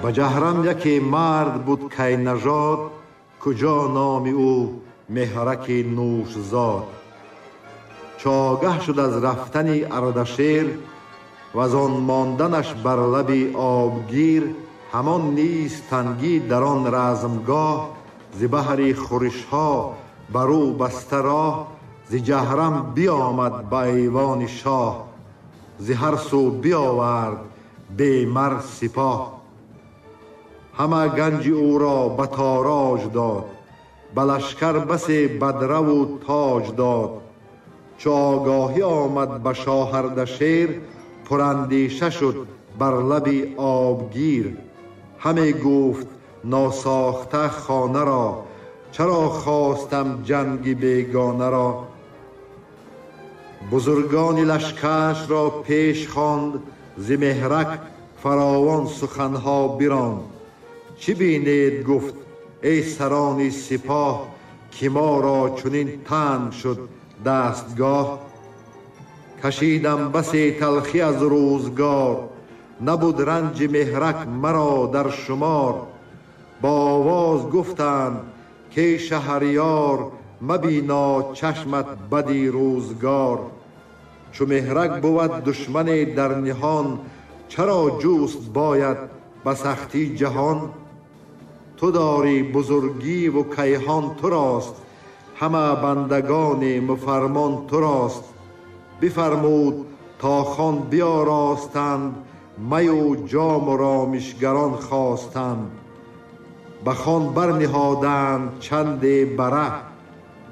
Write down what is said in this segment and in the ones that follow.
Ба Ҷаҳрам яке мард буд Кайнажод, куҷо номи ӯ Меҳраки Нӯшзод. Чу огаҳ шуд аз рафтани Ардашер ваз он монданаш бар лаби обгир, ҳамон низ тангӣ дар он размгоҳ, зи баҳри хӯришҳо бар ӯ баста роҳ, зи Ҷаҳрам биомад ба эвони шоҳ, зи ҳар су биовард бемар сипоҳ. Ҳама ганҷи ӯро ба тороҷ дод, ба лашкар басе бадраву тоҷ дод. Чу огоҳӣ омад ба шоҳ Ардашер, пурандеша шуд бар лаби обгир. Ҳаме гуфт носохта хонаро, чаро хостам ҷанги бегонаро. Бузургони лашкарашро пеш хонд, зи Меҳрак фаровон суханҳо биронд. Чӣ бинед, гуфт, эй сарони сипоҳ, ки моро чунин танг шуд дастгоҳ. Кашидам басе талхӣ аз рӯзгор, набуд ранҷи Меҳрак маро дар шумор. Бо овоз гуфтанд ки шаҳриёр, мабино чашмат бади рӯзгор. Чу Меҳрак бувад душмане дар ниҳон, чаро ҷуст бояд ба сахтӣ ҷаҳон? Ту дорӣ бузургӣ ву кайҳон турост, ҳама бандагони муфармон турост. Бифармуд то хон биёростанд, маю ҷому ромишгарон хостанд. Ба хон барниҳоданд чанде бара,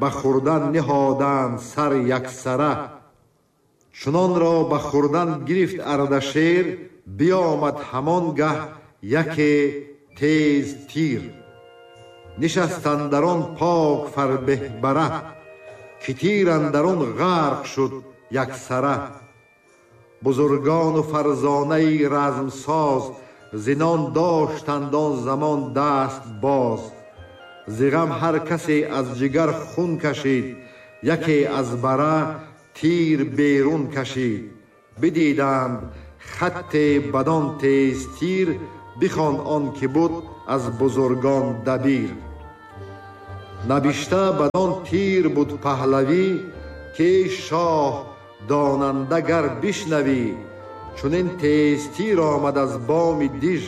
ба хӯрдан ниҳоданд сар яксара. Чунонро ба хӯрдан гирифт Ардашер, биомад ҳамон гаҳ яке тез тир. Нишаст андар он пок фарбеҳ бара, ки тир андар он ғарқ шуд яксара. Бузургону фарзонаи размсоз, зинон доштанд он замон даст боз. Зи ғам ҳар касе аз ҷигар хун кашид, яке аз бара тир берун кашид. Бидиданд хатте бадон тез тир, бихонд он ки буд аз бузургон дабир. Набишта бадон тир буд паҳлавӣ, ки эй шоҳ донанда гар бишнавӣ. Чунин тез тир омад аз боми диж,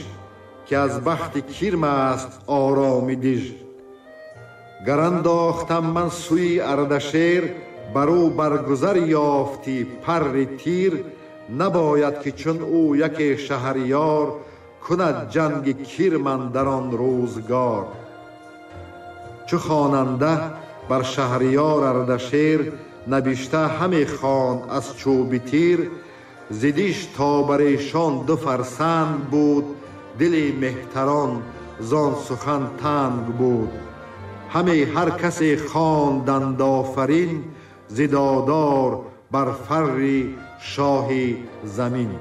ки аз бахти кирм аст ороми диж. Гар андохтам ман сӯи Ардашер, бар ӯ баргузар ёфтӣ парри тир, набояд ки чун ӯ яке шаҳриёр, кунад ҷанги кирм андар он рӯзгор. Чу хонанда бар шаҳриёр Ардашер, набишта ҳаме хонд аз чӯби тир, зи диш то бар эшон ду фарсанг буд, дили меҳтарон зон сухан танг буд. Ҳаме ҳар касе хонданд офарин, зи додор бар фарри шоҳи замин.